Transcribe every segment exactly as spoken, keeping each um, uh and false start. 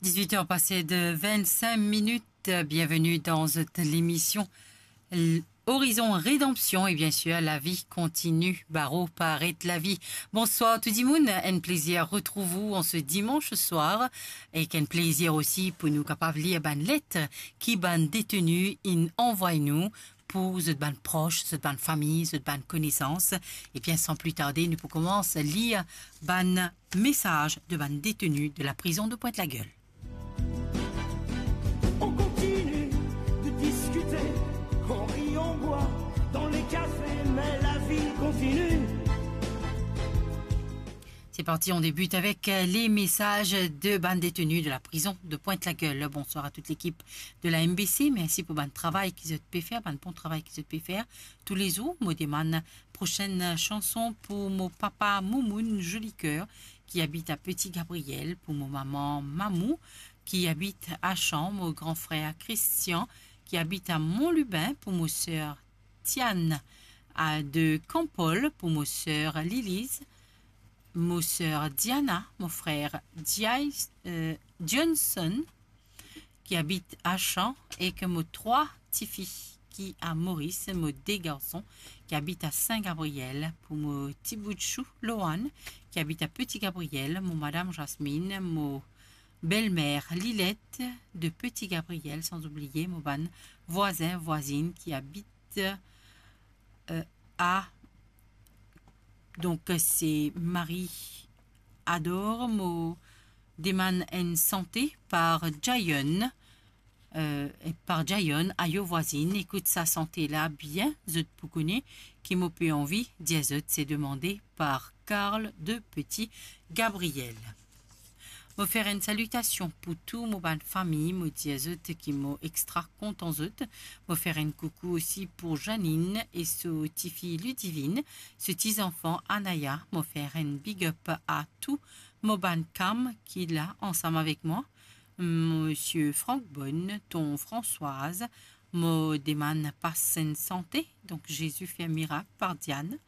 Dix-huit heures passées de vingt-cinq minutes. Bienvenue dans cette émission, l-, Horizon Rédemption. Et bien sûr, la vie continue, baro paret lavi. Bonsoir tou dimoun, enn plezir retrouv ou an se dimanche soir, e enn plezir osi pou nou kapav lir bann let ki bann deteni inn anvway nou pou zot bann pros, zot bann fami, zot bann konesans. E bien, san pli tarde, nou pou koumans lir bann mesaz de bann deteni de la prizon de Pointe-la-Gueule. On continue de discuter, on rit, on boit dans les cafés, mais la vie continue. C'est parti, on débute avec, euh, les messages de bann deteni de la prison de Pointe-la-Gueule. Bonsoir à toute l'équipe de la M B C. Mersi pou bann travay ki zot pe fer, bann bon travay ki zot pe fer toulezour. Mo demann prosenn chanson pou mo papa Moumoun Jolicoeur, ki abit a Petit Gabriel, pou mo mama Mamou, ki abit Achan, mo gran frer Christian, ki abit a Montlubin, pou mo ser Tiane, a, de Kanpol, pou mo ser Liliz, mo ser Diana, mo frer Diais-, euh, Johnson, ki abit Achan, ek mo trwa tifi ki a Moris, mo de garson ki abit a Sin Gabriel, pou mo ti bout chou Loan, ki abit a Petit Gabriel, mo madam Jasmine, mo belmer Lilette de Petit Gabriel, san oubliye mo bann vwazin, vwazinn ki abit, euh, a, donk, se Marie Ador. Mo demann enn sante par Jayon, euh, par Jayon, Ayo vwazinn. Ekout sa sante la bien, zot pou kone ki mo pe anvi dir zot, se demande par Carl de Petit Gabriel. Mo fer enn salitasion pou tou mo bann fami, mo dir zot ki mo extra kontan zot. Mo fer enn koukou osi pou Janine e so tifi Ludivine, so ti zanfan Anaya. Mo fer enn big up a tou mo bann kam ki la ansam avek mwa, Misie Frank Bonne, ton Françoise. Mo demann pas enn sante, donk Jésus fait un miracle par Diane,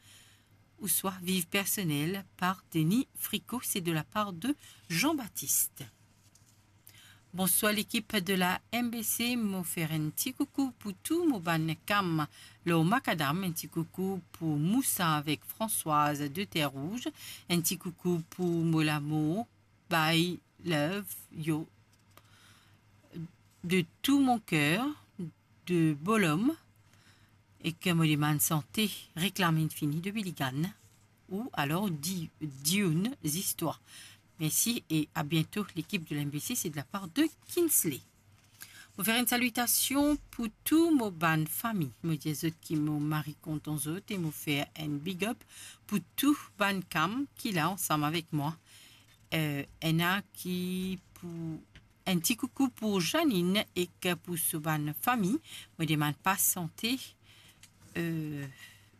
ouswa Viv personel par Denis Fricot, c'est de la part de Jean-Baptiste. Bonsoir lekip de la M B C, mo fer enn ti koukou pou tou mo bann kam lor makadam, enn ti koukou pou Moussa avek Françoise de Terre Rouge, enn ti koukou pou mo lamour, by love you, de tout mon cœur, de Bolom, ek mo demann sante Reklam inn fini de Billy Gann, ou alor Di-, Dune Zistwar. Mersi e a biento lekip de la M B C, c'est de la part de Kinsley. Mo fer enn salitasion pou tou mo bann fami. Mo dir zot ki mo mari kontan zot e mo fer enn big up pou tou bann kam ki la ansam avek mwa. Euh, ena ki pou Enn ti koukou pou Janine ek pou so bann fami. Mo demann pas sante, euh,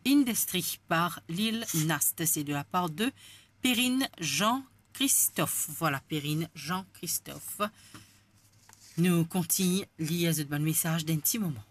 Industry par Lil Nas, c'est de la part de Perrine Jean-Christophe. Voilà, Perrine Jean-Christophe. Nou kontign lir zot bann mesaz dan enn ti moman.